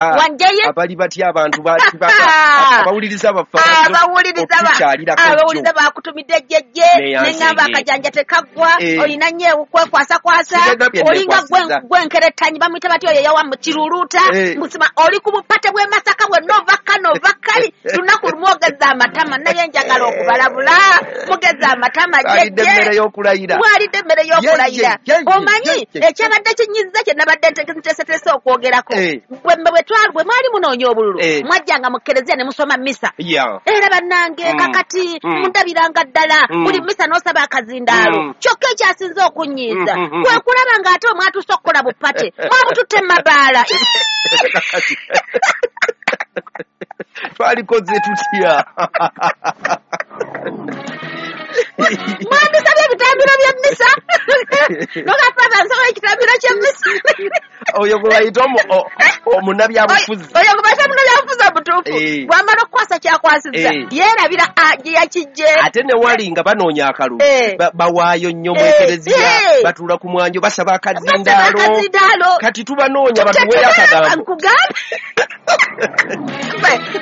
Wanjeye. Abali batya abantu abawuliriza baffe? Abawuliriza bakutumidde jjejje, neŋŋamba akajanja tekaggwa, olina nnyo ekwekwasakwasa, olinga gwenkerettanyi bamuyita batya oyo yawa kiruluuta musima, oli ku bupate bw'e Masaka bwonna, ova kano ova kali, lunaku lumu ogeza amatama. Naye njagala okubalabula, mugeza amatama jjejje, mwalidde emmere y'okulayira. Omanyi ekyabadde kinyiza kye nabadde nteeseteese okwogerako, bwe mwali munoonya obululu, mwajjanga mu kereziya ne musoma misa. Era bannange, kakati mundabiranga ddala buli misa n'osaba akazindaalo. Kyokka ekyasinze okunyiiza kwe kulaba ng'ate omwatuuse okukola bupate, mwabututte mabaala. Twalikoze tutya? Mwandisabye ebitambiro by'emmisa, noga, "Father, nsaba ekitambiro ky'emmisa." Oyo gwe bayita omunnabyabufuzi. Oyo gwe bayita omunnabyabufuzi omutuufu, bw'amala okukwasa kyakwasizza, yeerabira gye yakijje. Ate ne wali nga banoonya akalulu, bawaayo nnyo mu ekereziya, batuula ku mwanjo, basaba akazindaalo. Kati tubanoonya batuweeyo akagambo. Nkugambe,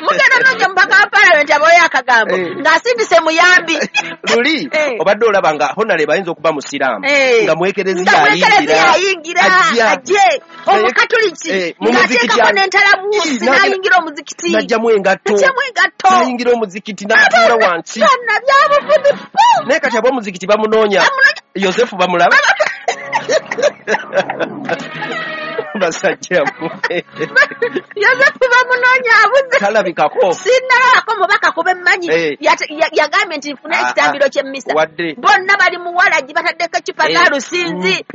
mugenda noonya mubaka wa palamenti abaweeyo akagambo ng'asindise muyambi. Luli obadde olaba nga honorable ayinza okuba musiraamu, nga mwekereziya ayingira ajje, omukatuliki ng'ateekako n'entalabuusi n'ayingira omuzikiti. N'ajjamu engatto, n'ayingira omuzikiti n'atuula wansi. Bannabyabufuzi. Naye kati ab'omuzikiti bamunoonya, Yosefu bamulaba. Basajja, Yosefu bamunoonya, abuze. Talabikako. Sinnalabako mubaka kuba emmanyi yagambye nti nfune ekitambiro ky'emmisa. Bonna bali muwalagi, bataddeko ecupa za lusinzi,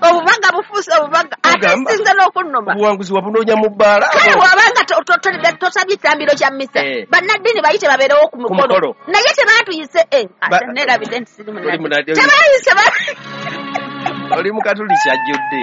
obubaga bufuuse obubaga. Ate sinze n'okunnuma, obuwanguzi wabunoonya mu bbaala. Kale wabanga tosabye ekitambiro kya mmisa, bannaddiini bayite babeerewo ku mukolo, naye tebaatuyise. Nerabidde nti siri munnaddiini. Tebayise. Oli mukatuliki ajjudde.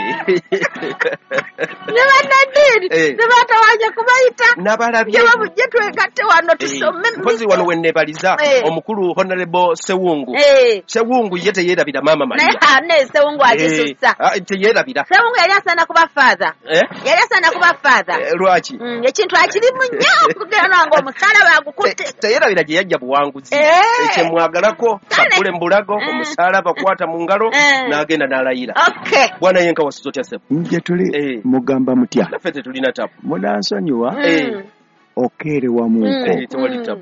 Ne bannaddiini ne batawanya kubayita. Nabalabye. Bujje twegatte wano tusome. Mpozi wano wenneebaliza omukulu Honorable Sewungu. Sewungu ye teyeerabira Maama Maria. Naye Sewungu agisussa. Teyeerabira. Sewungu yali asaana kuba father, yali asaana kuba father. Lwaki? Ekintu akirimu nnyo, okugera nange omusalaba agukutte. Teyeerabira gye yajja buwanguzi. Ekyemwagalako sakule mbulago, omusalaba kwata mu ngalo n'agenda n'alayira. Bwana yenka, wasuza otya ssebo? Nje tuli, mugamba mutya? Naffe tetulina tabu. Munansonyiwa okeerewamuuko.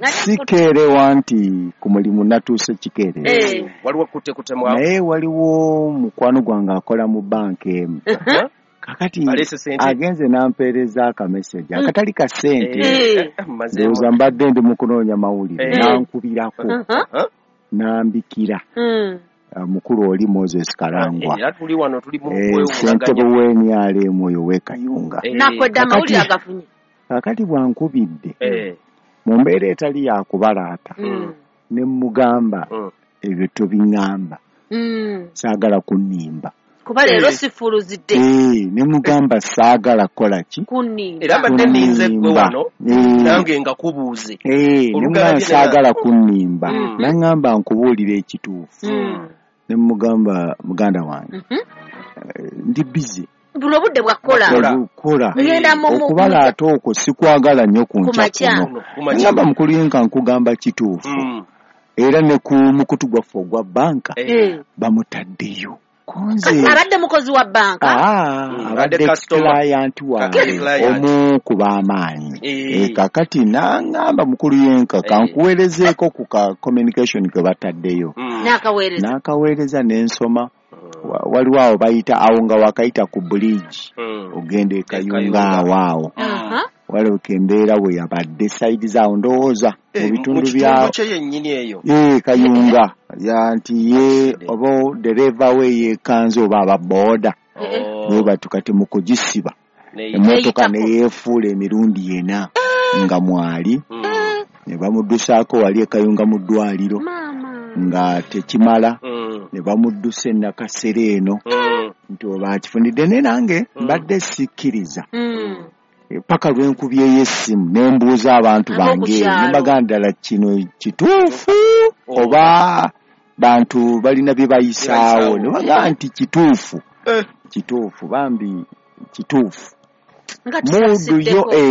Sikeerewa nti ku mulimu natuuse kikeerezi. Waliwo kutekutemu. Naye waliwo mukwano gwange akola mu banka emu. Kakati agenze n'ampeereza akameseji akatali ka ssente. Ndowooza mbadde ndi mu kunoonya mawulire, n'ankubirako n'ambikira mukulu oli Moses Karangwa, ssentebe w'NRM oyo w'e Kayunga. Kakati bwankubidde mu mbeera etali yakubalaata, ne mugamba, "Ebyo tobiŋŋamba, saagala kunnimba." Kuba leero sifuluzidde. Ne mugamba, "Saagala kukola ki?" Era mbadde nninze gwe wano nange nga kubuuze. Ne mugamba, "Saagala kunnimba." Naŋŋamba, "Nkubuulira ekituufu." Ne mugamba, "Muganda wange, ndi busy." Buno obudde bwakukola. Kola okubalaata okwo sikwagala nnyo ku nkya kuno. Ngamba, "Mukulu yenka, nkugamba kituufu, era ne ku mukutu gwaffe ogwa banka bamutaddeyo." Abadde mukozi wa banka? Abadde client wange, omu ku b'amaanyi. Kakati naŋŋamba, "Mukulu yenka, kankuweerezeeko ku ka communication ke bataddeyo." N'akaweereza n'ensoma. Waliwo awo bayita awo nga wakayita ku bridge ogenda e Kayunga, awo awo walabika embeera bwe yabadde side zaawo, ndowooza mu bitundu bya Kayunga, nti ye oba dereva we yeekanze oba aba booda naye batu. Kati mu kugisiba emmotoka neyeefuula emirundi ena nga mwali, ne bamuddusaako wali e Kayunga mu ddwaliro, nga tekimala, ne bamuddusa e Nakasero eno, nti oba akifunidde. Ne nange mbadde sikkiriza paka lwenkubyeyo essimu ne mbuuza abantu bange, ne mbagamba, "Ddala kino kituufu oba bantu balina bye bayisaawo?" Ne bagamba nti kituufu, kituufu, bambi kituufu. Nga Muudu yo tusasiddeko.